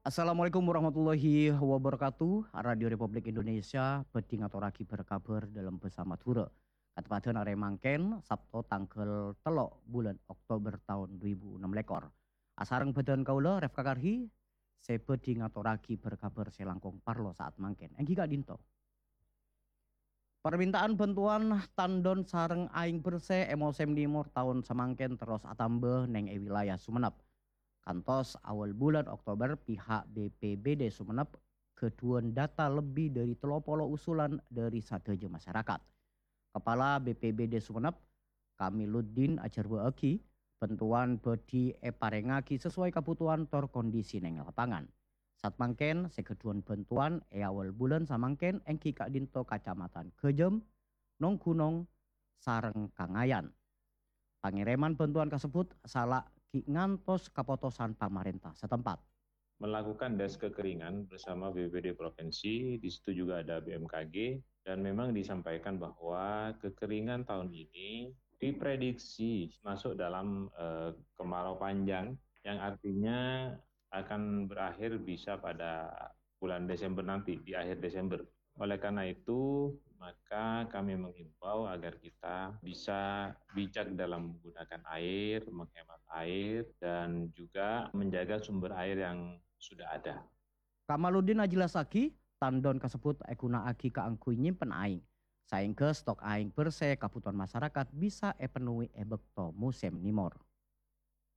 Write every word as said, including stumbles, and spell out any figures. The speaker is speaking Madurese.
Assalamualaikum warahmatullahi wabarakatuh. Radio Republik Indonesia bhâdhi ngatorraghi bâr-kabhâr dâlem bhâsa Madhurâ. Kateppadhân arè mangkèn, Sabto tangghâl tello' bulân Oktober taon dhu èbu ennem lèkor. Asareng bhâdhân kaulâ, Refka Karhi, sè bhâdhi ngatorraghi bâr-kabhâr sè langkong parlo sa'at mangkèn. Èngghi ka'dinto. Parminta'an bhântowan tandon sareng aèng bersè è mosèm nèmor taon samangkèn terros atamba neng è wilayah Sumenep. Kantos awal bulân Oktober, pihak B P B D Sumenep ghâdhuwân data lebbi dhâri tello polo usulan dhâri sadhâjâ masyarakat. Kepala B P B D Sumenep, Kamiluddin ajhârbâ'âghi, bhântowan bhâdhi èparèngaghi sesuai kabhutowan tor kondisi neng lapangan. Satmangkèn, sè ghâdhuwân bhântowan è awal bulân samangkèn èngghi ka'dinto Kacamatan Ghâjâm, Nonggunong, sareng Kangayan. Pangèrèman bhântowan kasebbhut sala ghi' ngantos kapotosan pamarènta satempat. Melakukan des kekeringan bersama B P B D provinsi, di situ juga ada B M K G, dan memang disampaikan bahwa kekeringan tahun ini diprediksi masuk dalam, eh, kemarau panjang, yang artinya akan berakhir bisa pada bulan Desember nanti, di akhir Desember. Oleh karena itu, maka kami menghimbau agar kita bisa bijak dalam menggunakan air, menghemat air, dan juga menjaga sumber air yang sudah ada. Kamaluddin ajellassaghi, tandon kasebbhut èghuna'aghi kaangghuy nyimpen aèng, saèngghâ stok aèng bersè kabhutowan masarakat bisa èpennoè è bâkto mosèm nèmor.